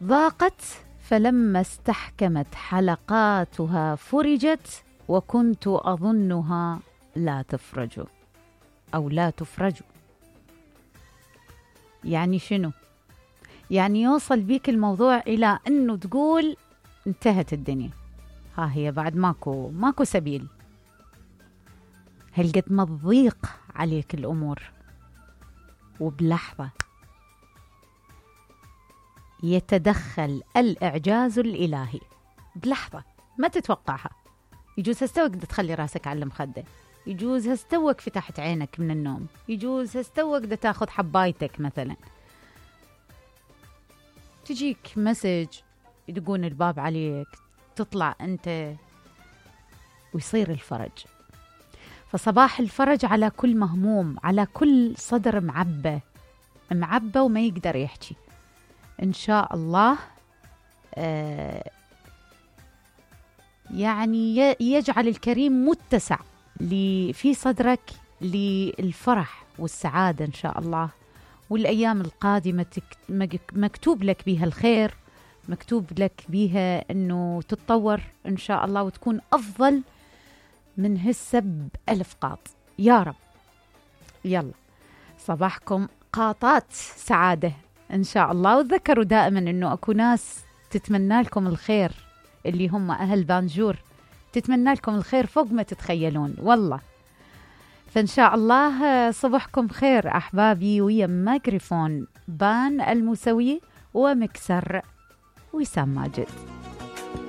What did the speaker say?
ضاقت فلما استحكمت حلقاتها فرجت وكنت أظنها لا تفرج أو لا تفرج. يعني شنو؟ يعني يوصل بيك الموضوع إلى أنه تقول انتهت الدنيا، ها هي بعد ماكو سبيل. هل قد ما تضيق عليك الأمور وبلحظة يتدخل الإعجاز الإلهي، بلحظة ما تتوقعها. يجوز هستوك تخلي راسك على المخدة، يجوز هستوك فتحت عينك من النوم، يجوز هستوك تاخذ حبايتك مثلا، تجيك مسج يدقون الباب عليك، تطلع أنت ويصير الفرج. فصباح الفرج على كل مهموم، على كل صدر معبى وما يقدر يحكي. إن شاء الله يعني يجعل الكريم متسع في صدرك للفرح والسعادة إن شاء الله. والأيام القادمة مكتوب لك بها الخير، مكتوب لك بها أنه تتطور إن شاء الله وتكون أفضل من هالسب 1000 قاط يا رب. يلا صباحكم قاطات سعادة إن شاء الله. وتذكروا دائما أنه أكو ناس تتمنى لكم الخير، اللي هم أهل بانجور، تتمنى لكم الخير فوق ما تتخيلون والله. فإن شاء الله صبحكم خير أحبابي. ويا ميكروفون بان الموسوي ومكسر وسام ماجد.